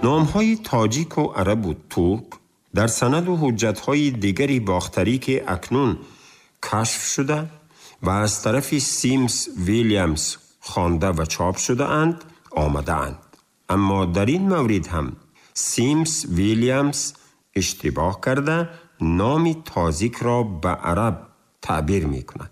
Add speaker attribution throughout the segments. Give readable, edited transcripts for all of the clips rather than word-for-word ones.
Speaker 1: نامهای تاجیک و عرب و ترک در سند و حجتهای دیگری باختری که اکنون کشف شده و از طرف سیمز ویلیامز خوانده و چاپ شده اند آمده اند. اما در این مورد هم سیمز ویلیامز اشتباه کرده نام تازیک را به عرب تعبیر می کند.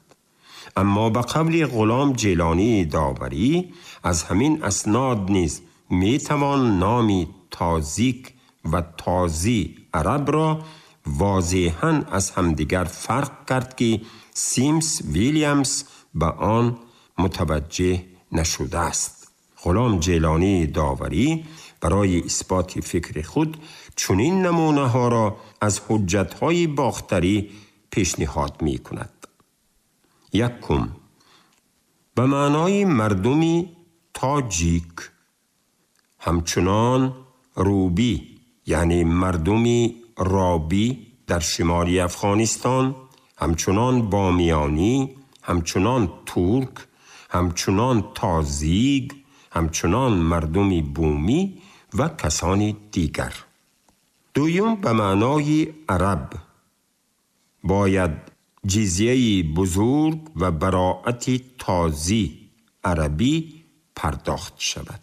Speaker 1: اما به قول غلام جیلانی داوری از همین اسناد نیز می توان نام تازیک و تازی عرب را واضحاً از همدیگر فرق کرد که سیمز ویلیامز به آن متوجه نشده است. غلام جیلانی داوری برای اثبات فکر خود چنین نمونه ها را از حجت های باختری پیشنهاد می کند. یکم، به معنای مردمی تاجیک، همچنان روبی یعنی مردمی رابی در شمال افغانستان، همچنان بامیانی، همچنان ترک، همچنان تازیگ، همچنان مردمی بومی و کسانی دیگر. دویم، به معنای عرب باید جزیه بزرگ و براعت تازی عربی پرداخت شود.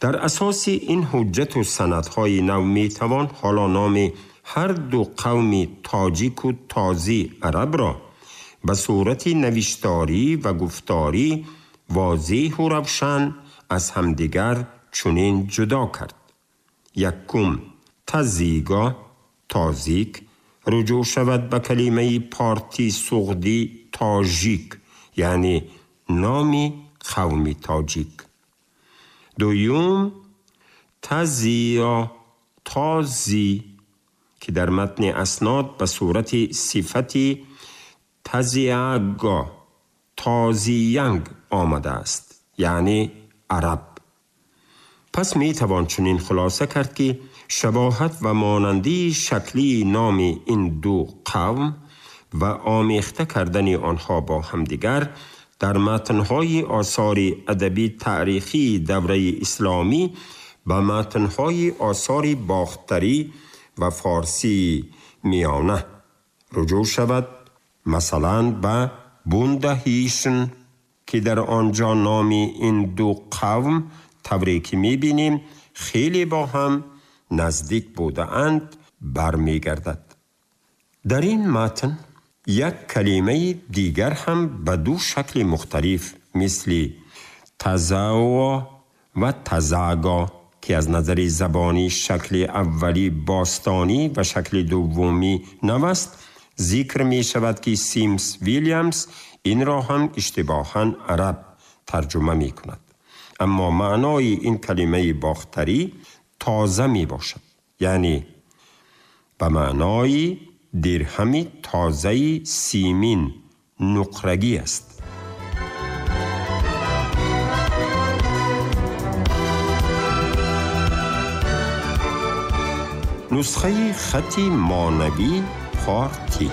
Speaker 1: در اساس این حجت و سندهای نو می توان حالا نام هر دو قوم تاجیک و تازی عرب را به صورت نوشتاری و گفتاری واضح و روشن از همدیگر چنین جدا کرد. یکم، تزیگا تازیک رجوع شود به کلمه پارتی سغدی تاجیک یعنی نام قوم تاجیک. دویم، تزیا تازی که در متن اسناد به صورت صفت تزیاگا تازیانگ آمده است یعنی عرب. پس می توان چنین خلاصه کرد که شباهت و مانندی شکلی نام این دو قوم و آمیخته کردن آنها با همدیگر در متن‌های آثار ادبی تاریخی دوره اسلامی و متن‌های آثار باختری و فارسی میانه رجوع شود، مثلا به بوندهیشن که در آنجا نام این دو قوم طوری که می‌بینیم خیلی با هم نزدیک بوده‌اند برمی‌گردد. در این متن یک کلمه دیگر هم به دو شکل مختلف مثل تزاوا و تزاگا که از نظر زبانی شکل اولی باستانی و شکل دومی نو است ذکر می شود که سیمز ویلیامز این را هم اشتباهاً عرب ترجمه می کند. اما معنای این کلمه باختری تازه می باشد، یعنی به معنای درهم تازه سیمین نقرگی است. نسخه خط مانوی پارتی.